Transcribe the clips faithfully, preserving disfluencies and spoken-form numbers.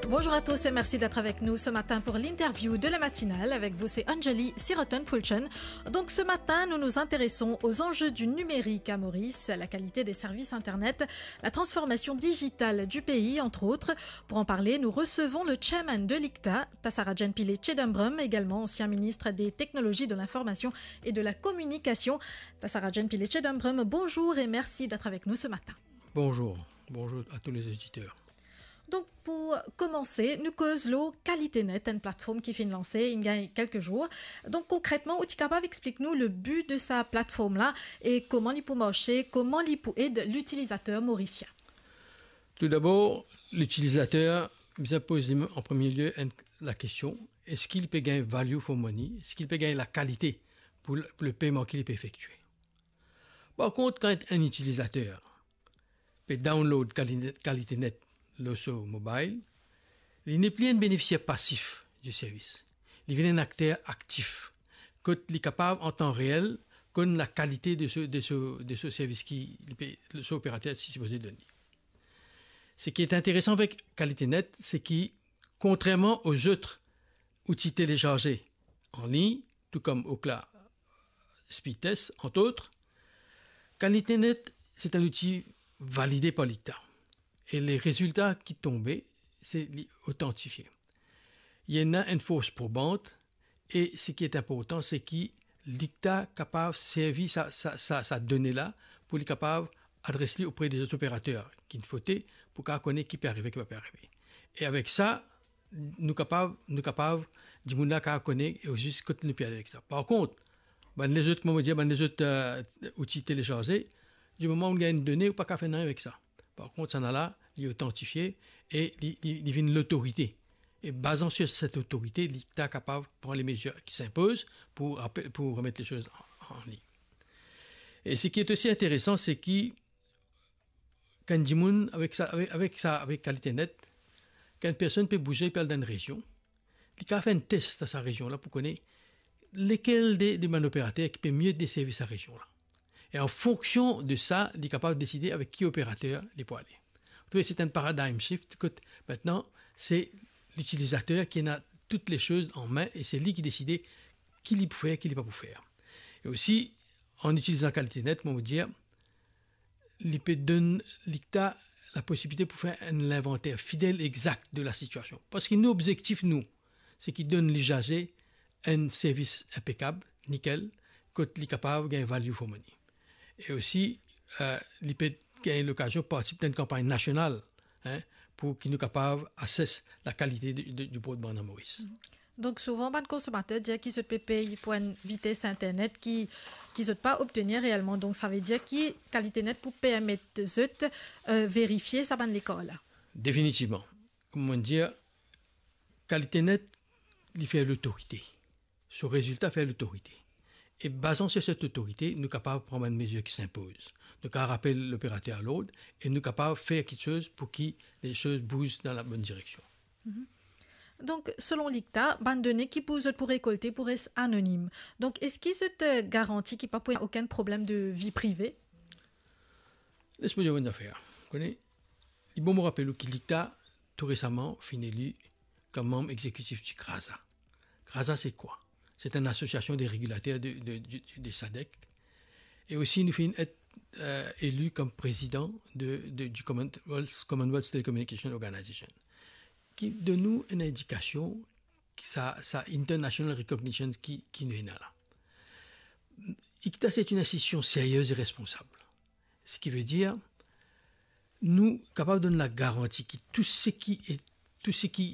Bonjour à tous et merci d'être avec nous ce matin pour l'interview de la matinale. Avec vous, c'est Anjali Siroton Pulchen. Donc ce matin, nous nous intéressons aux enjeux du numérique à Maurice, la qualité des services Internet, la transformation digitale du pays, entre autres. Pour en parler, nous recevons le chairman de l'ICTA, Tasarajan Pillay Chidambaram, également ancien ministre des Technologies de l'Information et de la Communication. Tasarajan Pillay Chidambaram, bonjour et merci d'être avec nous ce matin. Bonjour, bonjour à tous les auditeurs. Donk, pou komanse, nou koz lor Kalite Net, enn platform ki finn lanse, inn gagn kelke zour. Donk, konkretman, ou ti kapav explik nou le bi de sa platform la e kouma li pou marse, kouma li pou ed litilizater morisien? Toudabor, litilizater bizin poz li an premie lie enn, lakestion, eski li pe gagn value for money? Eski li pe gagn lakalite pou le, pou le peyman ki li pe efektie? Par kont, kan enn itilizater pe download Kali-, Kalite Net lor so mobile, li nepli enn benefisier pasif di servis. Li vinn enn akter aktif, kot li kapav an tan reel konn lakalite de so, de so, de so servis ki li pe, so operater ti sipoze donn li. Seki interesan avek Kalite Net, se ki, kontrerman o zot outi telesarze an lign, tou kom Ookla Speed Test, entre autres, Kalite Net, se enn outi valide par l'ICTA. E le rezilta ki tonbe, se li otantifie. Li ena enn fors probant, e seki inportan, se ki l'ICTA kapav servi sa, sa, sa, sa done la pou li kapav adres li opre de zot operater ki inn fote, pou kapav kone ki pe arive, ki pa pe arive. E avek sa, nou kapav, nou kapav, dimoun la kapav kone osi kot nou pe ale avek sa. Par kont, bann lezot, kouma mo dir, bann lezot, eh, outi telesarze, di moman ou gagn enn done, ou pa kapav fer nanye avek sa. Par kont, sa la, li otantifie e li, li, li vinn lotorite. E bazan sur set otorite, li ta kapav pran le mezir ki sinpoz pou rapel, pou remet le soz an, an lign. E seki osi interesan, se ki kan dimoun avek sa, avek, avek sa, avek Kalite Net, kan enn personn pe bouze, pe al dan enn rezion, li kapav fer enn tes dan sa rezion la pou kone lekel de, de bann operater ki pe mie deservi sa rezion la. E an fonksion de sa, li kapav deside avek ki operater li pou ale. Ou trouve, se enn paradigm shift kot mintnan, se litilizater ki ena tout le soz an me e se li ki deside ki li pou fer, ki li pa pou fer. E osi, an itilizan Kalite Net, mo dir, li pe donn l'ICTA laposibilite pou fer enn linvanter fidel, exakt de lasitiasion. Parski nou obzektif, nou, se ki donn lizaze enn servis inpekab, nikel, kot li kapav gagn value for money. E osi, eh, li pe gagn lokazion partisip dan enn kanpagn nasional, hein, pou ki nou kapav assess lakalite de, de, di broadband an Moris. Donk, souvan, bann konsomater dir ki zot pe pey pou enn vites internet ki, ki zot pa obtenir reelman. Donk, savedir ki Kalite Net pou permet zot, eh, verifie sa bann lekar la? Definitivman. Kouma mo dir, Kalite Net, li fer lotorite. So rezilta fer lotorite. E bazan sur set otorite, nou kapav pran bann mezir ki sinpoz. Nou kapav rapel loperater a lord e nou kapav fer kiksoz pou ki le soz bouz dan labonn direksion. Mhm. Donk, selon l'ICTA, bann done ki pou, zot pou rekolte pou res anonim. Donk, eski zot, eh, garanti ki pa pou ena okenn problem de vi prive? Les mo dir enn zafer. Kone, li bon mo rapel ou ki l'ICTA, tou resaman, finn eli kom manm exekitif di CRASA. CRASA, se kwa? Se enn asosiasion de regilater de, de, de, de SADEC. E osi, nou finn et, eh, eli kom prezidan de, de, di Commonwealth, Commonwealth Telecommunication Organization, ki donn nou enn indikasion ki sa, sa international recognition ki, ki nou ena la. ICTA, se enn institision serye e responsab. Seki ve dir, nou kapav donn lagaranti ki tou seki e, tou seki,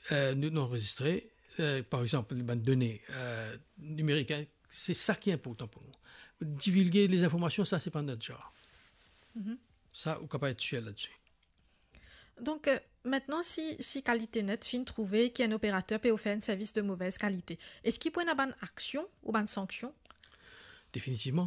eh, nou, nou anrezistre, eh, par exanp, bann done, eh, nimerik, hein, se sa ki inportan pou nou. Divilge lezinformasion, sa, se pa not zar. Mhm. Sa, ou kapav et sir ladsi. Donk, eh, mintnan, si, si Kalite Net finn trouve ki enn operater pe ofer enn servis de movez kalite, eski pou ena bann aksion ou bann sanksion? Definitivman.